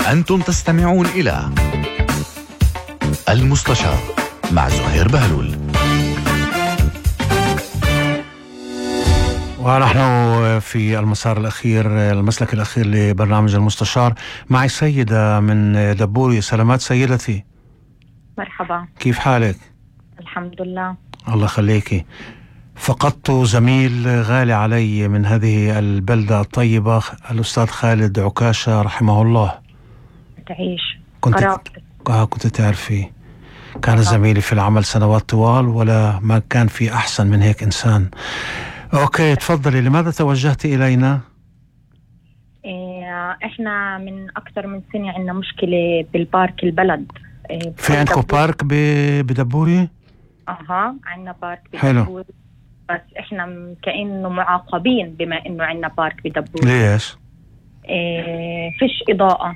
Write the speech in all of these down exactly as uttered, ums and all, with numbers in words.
أنتم تستمعون إلى المستشار مع زهير بهلول. ونحن في المسار الأخير المسلك الأخير لبرنامج المستشار. معي سيدة من دبوري. سلامات سيدتي. مرحبا، كيف حالك؟ الحمد لله. الله خليكي. فقدت زميل غالي علي من هذه البلدة الطيبة، الأستاذ خالد عكاشة رحمه الله. تعيش. كنت قرابتك. آه كنت تعرفي، كان زميلي في العمل سنوات طوال، ولا ما كان في أحسن من هيك إنسان. أوكي تفضلي، لماذا توجهت إلينا؟ إيه، إحنا من أكثر من سنة عندنا مشكلة بالبارك البلد. إيه، في عندكم بارك ب- بدبوري؟ أها، عندنا بارك حلو. بدبوري، بس إحنا م- كأنه معاقبين بما إنه عندنا بارك بدبوري. ليش؟ إيه، فيش إضاءة.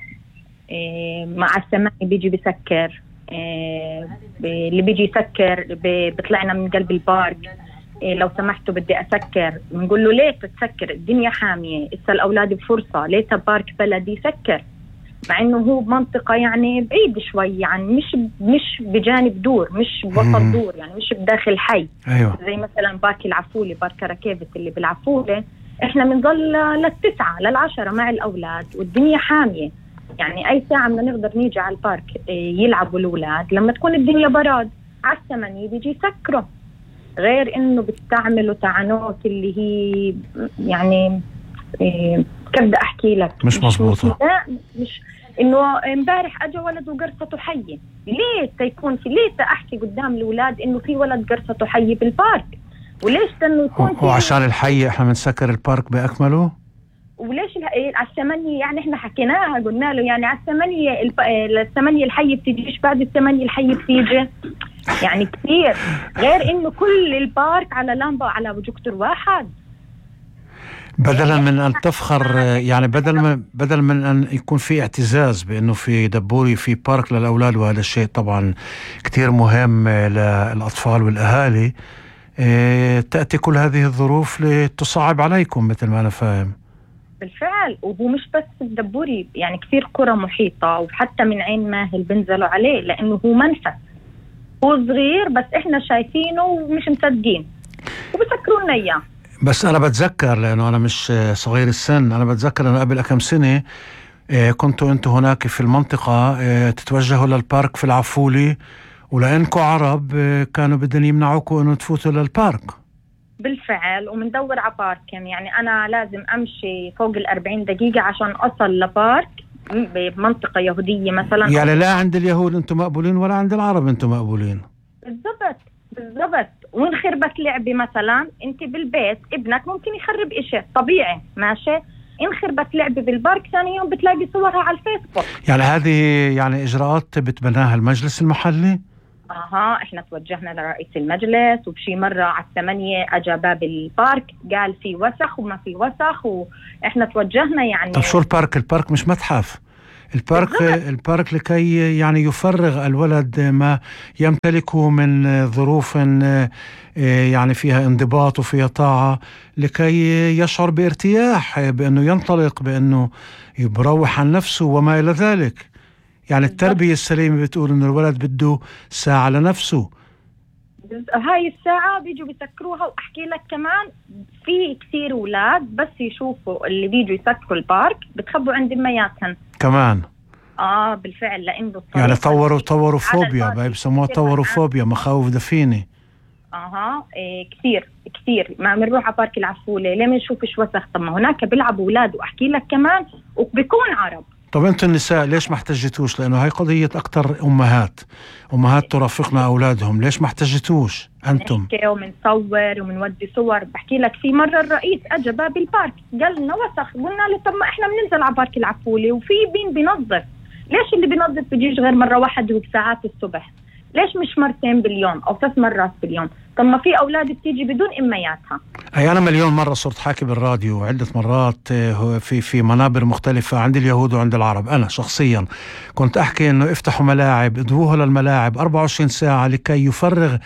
إيه، مع السماء بيجي بيسكر. إيه، ب- اللي بيجي يسكر ب- بيطلعنا من قلب البارك. إيه، لو سمحتوا بدي أسكر، بنقول له ليه تسكر؟ الدنيا حامية، إسا الأولاد بفرصة، ليه بارك بلدي يسكر؟ مع إنه هو بمنطقة يعني بعيد شوي، يعني مش مش بجانب دور، مش بوسط دور، يعني مش بداخل حي. أيوة. زي مثلا بارك العفولة، بارك ركيفة اللي بالعفولة، إحنا بنضل للتسعة للعشرة مع الأولاد والدنيا حامية. يعني أي ساعة بدنا نقدر نيجي على البارك إيه، يلعبوا الأولاد، لما تكون الدنيا براد على الثمانية بيجي يسكروا. غير انه بتستعملوا تعنوت اللي هي يعني إيه كيف بدي احكي لك، مش مزبوطة. مش, مش انه امبارح اجى ولد وقرصته حية. ليه تيكون في ليه تحكي قدام الاولاد انه في ولد قرصته حية بالبارك؟ وليش انه يكون في، وعشان الحي احنا بنسكر البارك باكمله؟ وليش ال- على الثمانية؟ يعني احنا حكيناها، قلنا له يعني على الثمانية الب... الثمانية الحي بتجيش، بعد الثمانية الحي بتيجي، يعني كثير. غير انه كل البارك على لامبا على بروجيكتور واحد. بدلا من ان تفخر، يعني بدل من بدل من ان يكون في اعتزاز بانه في دبوري في بارك للاولاد، وهذا الشيء طبعا كتير مهم للاطفال والاهالي، اه تاتي كل هذه الظروف لتصعب عليكم مثل ما انا فاهم. بالفعل، وهو مش بس الدبوري، يعني كثير قرى محيطة، وحتى من عين ماهل بنزلوا عليه لانه هو منفس، هو صغير بس احنا شايفينه ومش مصدقين وبسكروا لنا اياه. بس أنا بتذكر، لأنه أنا مش صغير السن، أنا بتذكر أنه قبل كم سنة كنتوا أنتوا هناك في المنطقة تتوجهوا للبارك في العفولي، ولأنكوا عرب كانوا بدهم يمنعوكوا أنه تفوتوا للبارك. بالفعل، ومندور على بارك، يعني أنا لازم أمشي فوق الأربعين دقيقة عشان أصل لبارك بمنطقة يهودية مثلا. يعني لا عند اليهود أنتوا مقبولين ولا عند العرب أنتوا مقبولين. بالضبط بالضبط. وانخربت لعبة مثلا، انت بالبيت ابنك ممكن يخرب اشي طبيعي، ماشي، انخربت لعبة بالبارك ثاني يوم بتلاقي صورها على الفيسبوك. يعني هذه يعني اجراءات بتبناها المجلس المحلي؟ اها، احنا توجهنا لرئيس المجلس، وبشي مرة على الثمانية اجى باب البارك قال في وسخ وما في وسخ، واحنا توجهنا يعني. طب شو البارك؟ البارك مش متحف. البارك بالضبط. البارك لكي يعني يفرغ الولد ما يمتلكه من ظروف يعني فيها انضباط وفيها طاعة، لكي يشعر بارتياح، بأنه ينطلق، بأنه يبروح عن نفسه وما إلى ذلك. يعني التربية السليمة بتقول أنه الولد بده ساعة لنفسه. هاي الساعة بيجوا بيسكروها. وأحكي لك كمان، في كثير أولاد بس يشوفوا اللي بيجوا يسكروا البارك بتخبوا عند أمياتهم كمان. آه بالفعل، لأنه يعني طوروا طوروا فوبيا، بيسموها طوروا فوبيا، مخاوف دفينة. اها إيه كثير كثير. ما بنروح على بارك العفولة ليه ما نشوفش وسخ؟ طب ما هناك بيلعبوا أولاد، وأحكي لك كمان وبيكون عرب. طب انتم النساء ليش ما احتجتوش؟ لانه هاي قضية اكتر امهات امهات ترافقنا اولادهم، ليش ما احتجتوش انتم؟ نحكي ومنصور ومنودي صور. بحكي لك في مرة الرئيس اجى باب البارك قال لنا وسخ، قلنا له طب ما احنا بننزل على بارك العفولة وفي بين بينظف، ليش اللي بينظف بيجيش غير مرة واحدة وبساعات الصبح؟ ليش مش مرتين باليوم او ثلاث مرات باليوم؟ طب ما في اولاد بتيجي بدون امياتها. اي انا مليون مرة صرت حاكي بالراديو عدة مرات في في منابر مختلفة عند اليهود وعند العرب. انا شخصيا كنت احكي انه افتحوا ملاعب، ادوه للملاعب أربعة وعشرين ساعة لكي يفرغ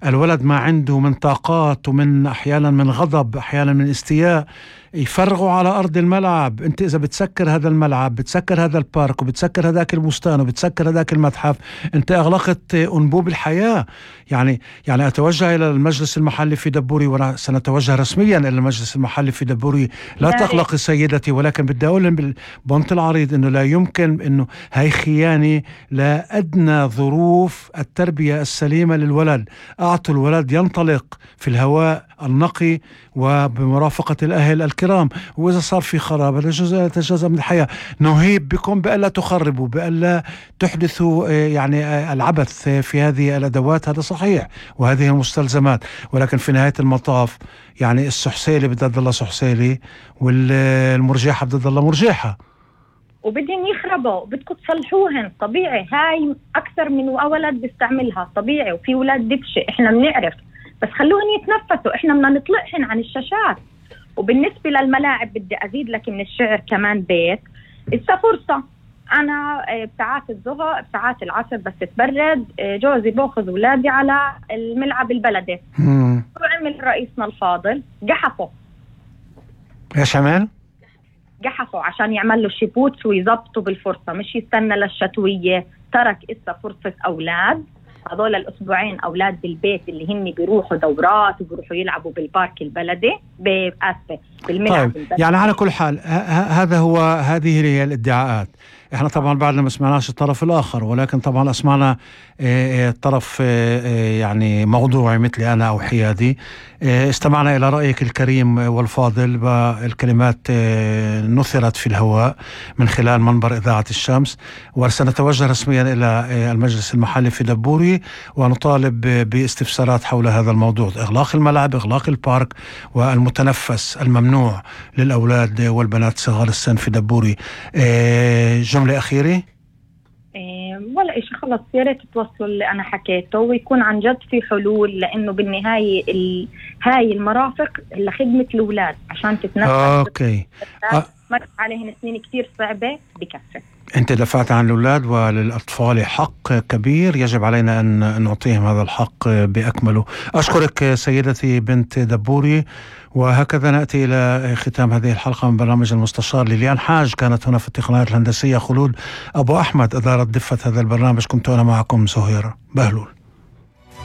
الولد ما عنده من طاقات، ومن احيانا من غضب، احيانا من استياء، يفرغوا على أرض الملعب. أنت إذا بتسكر هذا الملعب، بتسكر هذا البارك، وبتسكر هذاك البستان، وبتسكر هذاك المتحف، أنت أغلقت أنبوب الحياة. يعني يعني أتوجه إلى المجلس المحلي في دبوري، وأنا سنتوجه رسميا إلى المجلس المحلي في دبوري. لا تقلقي سيدتي، ولكن بدي أقول بالبنط العريض إنه لا يمكن، إنه هاي خيانة لا أدنى ظروف التربية السليمة للولد. أعطوا الولد ينطلق في الهواء النقي وبمرافقة الأهل الكرام، وإذا صار في خراب هذا جزء جزء من الحياة. نهيب بكم بألا تخربوا، بألا تحدثوا يعني العبث في هذه الأدوات. هذا صحيح، وهذه المستلزمات، ولكن في نهاية المطاف يعني السحسيلي بدها تضل سحسيلي، والمرجحة بدها تضل مرجحة، وبدهم يخربوا، بدكم تصلحوهن. طبيعي، هاي أكثر من ولد بيستعملها طبيعي، وفي ولاد دبشة احنا بنعرف، بس خلوهن يتنفسوا، احنا بدنا نطلعهن عن الشاشات. وبالنسبة للملاعب بدي أزيد لك من الشعر كمان بيت. إذا فرصة أنا بساعات الظهر بساعات العصر بس تبرد، جوزي باخذ أولادي على الملعب البلدي. وعمل رئيسنا الفاضل جحفه. ايش عمل؟ جحفوا عشان يعمل له شيبوتس ويزبطوا بالفرصة، مش يستنى للشتوية. ترك إسا فرصة أولاد، هذول الأسبوعين أولاد بالبيت اللي هن بيروحوا دورات وبيروحوا يلعبوا بالبارك البلدي بأسفة بالملعب طيب البلدي. يعني على كل حال هذا هو هذه هي الادعاءات. احنا طبعا بعدنا ما سمعناش الطرف الآخر، ولكن طبعا اسمعنا طرف يعني موضوعي مثلي أنا أو حيادي. استمعنا إلى رأيك الكريم والفاضل، والكلمات نثرت في الهواء من خلال منبر إذاعة الشمس، وسنتوجه رسميا إلى المجلس المحلي في دبوري ونطالب باستفسارات حول هذا الموضوع، إغلاق الملعب، إغلاق البارك، والمتنفس الممنوع للأولاد والبنات صغار السن في دبوري. جملة أخيرة؟ ولا إشي، خلص يا ريت توصلوا اللي أنا حكيته ويكون عن جد في حلول، لأنه بالنهاية ال... هاي المرافق لخدمة الأولاد عشان تتنفس. أوكي. أ... مرت عليهن سنين كتير صعبة بكفة. أنت دفعت عن الأولاد، وللأطفال حق كبير يجب علينا أن نعطيهم هذا الحق بأكمله. أشكرك سيدتي بنت دبوري، وهكذا نأتي إلى ختام هذه الحلقة من برنامج المستشار. ليليان حاج كانت هنا في التقنيات الهندسية، خلود أبو أحمد أدارت دفة هذا البرنامج، كنت أنا معكم زهير بهلول.